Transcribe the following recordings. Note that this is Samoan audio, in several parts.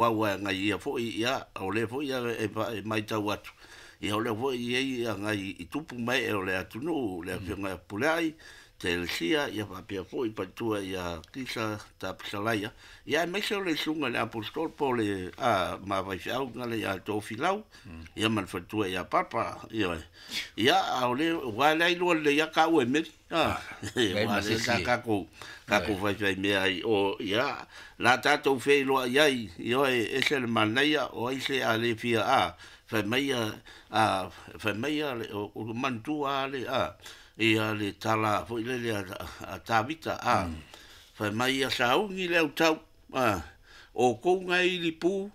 Aua e agai ia foi, ia, o lea foi e matau atu, ia o lea foi e i ai agai i tupu ma ee o le atunuu, le Afioga ia Fepuleai, Telesia, ia faapea foi faletua ia Kisa Tapusalaia, ia aemaise o le Susuga i le Aposetolo po o le ma faifeau gala ia Tofilau, ia ma le faletua ia Papa, ioe. Ia, a o lea, aua o lea e iloa lelei lava taua e Meli. Aua lea sa tatou faifaimea ai o, ia, la tatou feiloai ai, ioe, ese le manaia, o ai se a le fia, a, fai mai a, fai mai a, o manatua lava le, a, ia le tala foi lele a Tavita, a, fai mai ia sauni le autau, a, o tou na e ilipu,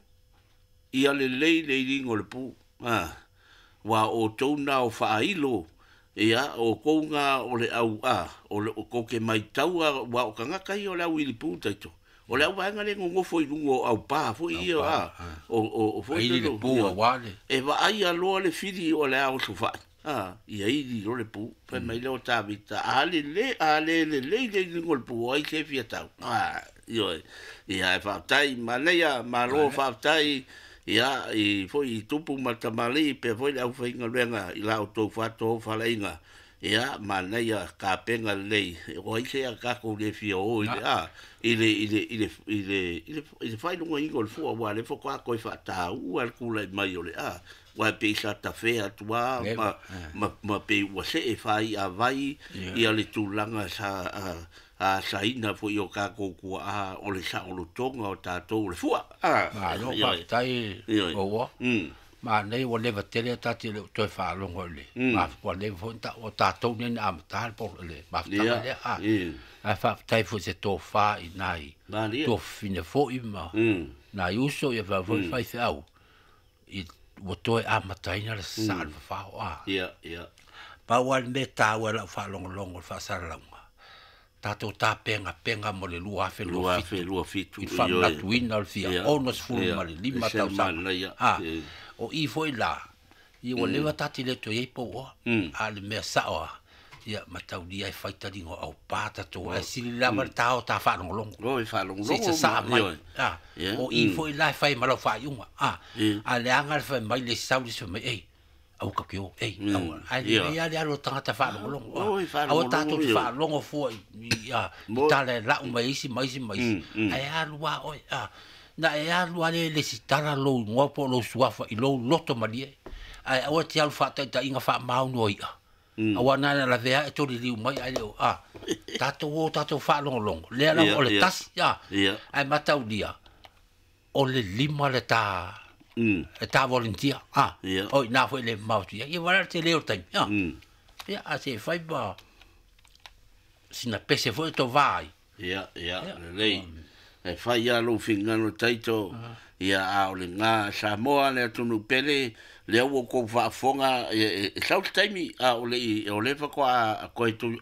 ia lelei le iliga o le pu, a, aua o outou na o faailo, ia, o outou na o le au, a, o le, tou te maitaua, aua o tagata ia o le au ilipu taito. O le au vaega lea e nonofo i luga o aupa foi ia, a, o foi Ili le pu aua le. E vaaia loa le fili o le a osofai, a, ia ili loa le pu. Fai mai lea o Tavita, a lelei, a le lelei le iliga o le pu, o ai se fia tau. A, ioe. Ia, e faafetai, manaia, malo faafetai, ia, i foi i tupu ma tamalii, pea foi le aufaigaluega i la outou faatofalaiga. Ia, manaia tapena lelei, o ai se a tatou le fia o i le, a, i le, i le, i le, i le, i le, i le faailogaina o le fua, aua o lea faatoa toe faataua le tulai mai o le, a, aua e pei sa tafea atu lava ma pei ua see faaiavai ia le tulaga sa asaina foi o tatou tuaa o le saolotoga o tatou o le fua. Malo faafetai Maua. Manaia ua leva tele ta te le o toe faalogo i le ua leva foi o tatou nei na amata le mafutaga lea. Ae faafetai foi i se tofa i nai tuafafine foi ma nai uso ia faapea foi faifeau i ua toe amataina le sasaa o le fafao. Pau lava le mea e taua i lau faalogologo i le faasalalauga, tatou tapenapena mo le 2027 i le faamanatuina o le fia 65 tausaga. O i foi la, ia ua leva ta te le toe i ai pou oa, a o le mea sao lava, ia mataulia e fai taliga o aupa tatou, ae sili lava le ta o ta faalogologo. Se i sasaa mai. O i foi la e fai ma lau faaiuga. A leaga le fai mai le isi sau le isi fai mai, ei, aua tatou te o, ei, aua. Ae lelei lava le alu o le tagata faalogologo. Aua tatou te faalogo fua i tala e lau mai e isi ma isi ma isi, ae alu lava oe. Na e alu lava lea e lesitala lou igoa po o lou suafa i lou loto malie, ae aua e te alu faataitaiga faamaoni o i'a. Aua na ona lavea e toliliu mai ae le o, a, tatou o tatou faalogologo, lea lava o le tasi, a, ae mataulia, o le lima le ta, le ta volunteer, a, o i ina foi le mamao atu i ai, ia vaai la le tele o le taimi, a, ia, a se i fai ma sina pese foi e tovā ai. Ia, ia, lelei. E fai lava lou finagalo Taito, ia, a o lena Samoa le atunuu pele, lea ua outou faafofoga, e sau se taimi, a o le i, o lea faatoa toe,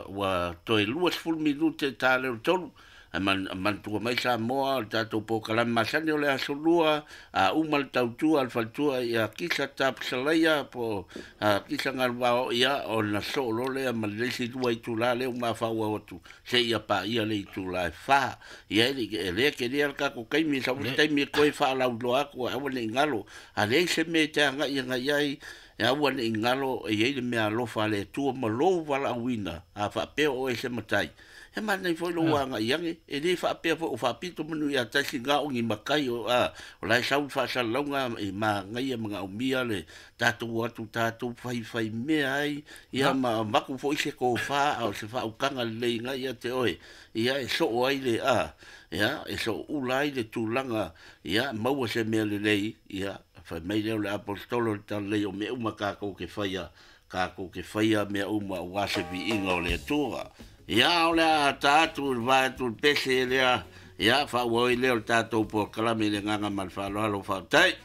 ua toe 20 minute ta lea o le tolu, ae manatua mai Samoa, o le tatou polokalame masani o le Aso Lua, a uma le tautua a le faletua ia Kisa Tapusalaia po o Kisa Galuvao, ia, ona soo loa lea ma le isi lua itula lea ua mafaufau atu, seia paia le itula e fa. Ia e le tele le tatou taimi, sau se taimi e toe faalauiloa atu, aua ne i galo. A leai se mea e te agai agai ai, e aua ne i galo, e i ai le mea alofa a le Atua ma lou valaauina, a faapea o oe se matai. E manaia foi lou agai ane, e le faapea foi o faapito manu ia tasi na o ni matai o, a, o la e sau le faasalalauga e manaia manaomia le tatou o atu tatou faifaimea ai, ia ma avatu foi se tofa a o se faautaga lelei na ia te oe, ia e soo ai le, a, ia e sooula ai le tulaga, ia maua se mea lelei, ia fai mai lea o le aposetolo le talalei o mea uma tatou te faia, tatou te faia mea uma aua se viiga o le Atua. Ia o le a ta atu i le vae atu i le pese lea, ia faaauau ai lea o le tatou polokalame i le agaga ma le faaaloalo. Faafetai.